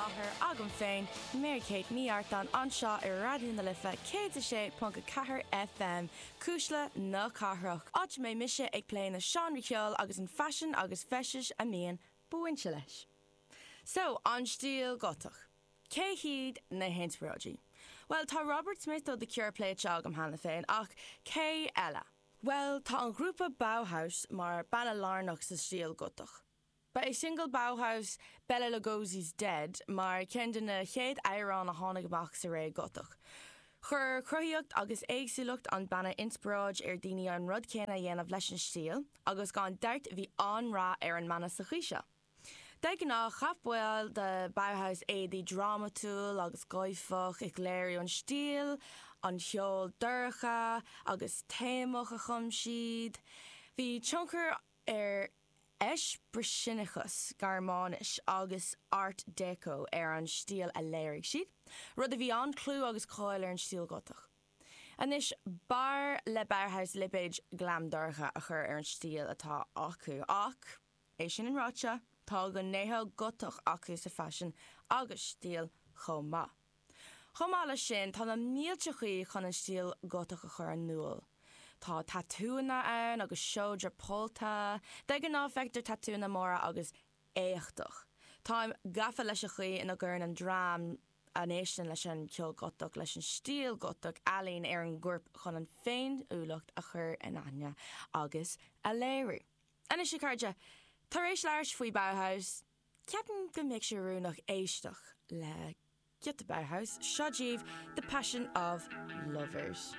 láthair agam féin, Mary Kate Ní Artáin, anseo ar Raidió na Life 106.4 FM, Cuisle na Cathrach, áit a mbeidh mise ag plé na seánraí ceoil agus an faisean agus feistis a mbíonn bainte leis. So, an stíl Gotach. Cé hiad na hinspioráidí? Bhuel, tá Robert Smith ó The Cure pléite agam cheana féin, ach cé eile? Bhuel, tá an ghrúpa Bauhaus mar banna lárnach sa stíl Gotach. Ba é singil Bauhaus Bela Lugosi's Dead mar ceann de na chéad amhráin a tháinig amach sa ré Gotach. Chuir cruthaíocht agus éagsúlacht an banna inspioráid ar daoine an rud céanna a dhéanamh leis an stíl agus gan dabht bhí an-rath ar an mbanna sa chaoi seo. De ghnáth, chaith baill de Bauhaus éadaí drámatúil agus gáifeach, ag léiriú an stíl, an cheoil dorcha agus téamach a chum siad. Bhí tionchar ar Eispriseanachas Gearmáinis agus Art Deco ar an stíl a léirigh siad, rud a bhí an-chlú agus cáil ar an stíl Ghotach. Anois, b'fhearr le Bauhaus lipéad glam dorcha a chur ar an stíl atá acu, ach. É sin ráite, tá gnéithe Gotach acu sa faisean agus stíl chomh maith. Chomh maith leis sin, tá na mílte chaoi chun an stíl Gotach a chur in iúl. Tá tatúanna ann agus seodra pollta. De ghnáth feictear tatúanna móra agus éachtach. Táim gafa leis an chaoi ina gcuireann an dream a n-éisteann leis an ceol Gotach leis an stíl Gotach ealaín ar an gcorp chun an féiniúlacht a chur in aithne agus a léiriú. Anois a chairde, tar éis labhairt faoi Bauhaus, ceapaim go mbeadh sé oiriúnach éisteacht le giota Bauhaus, seo daoibh The Passion of Lovers.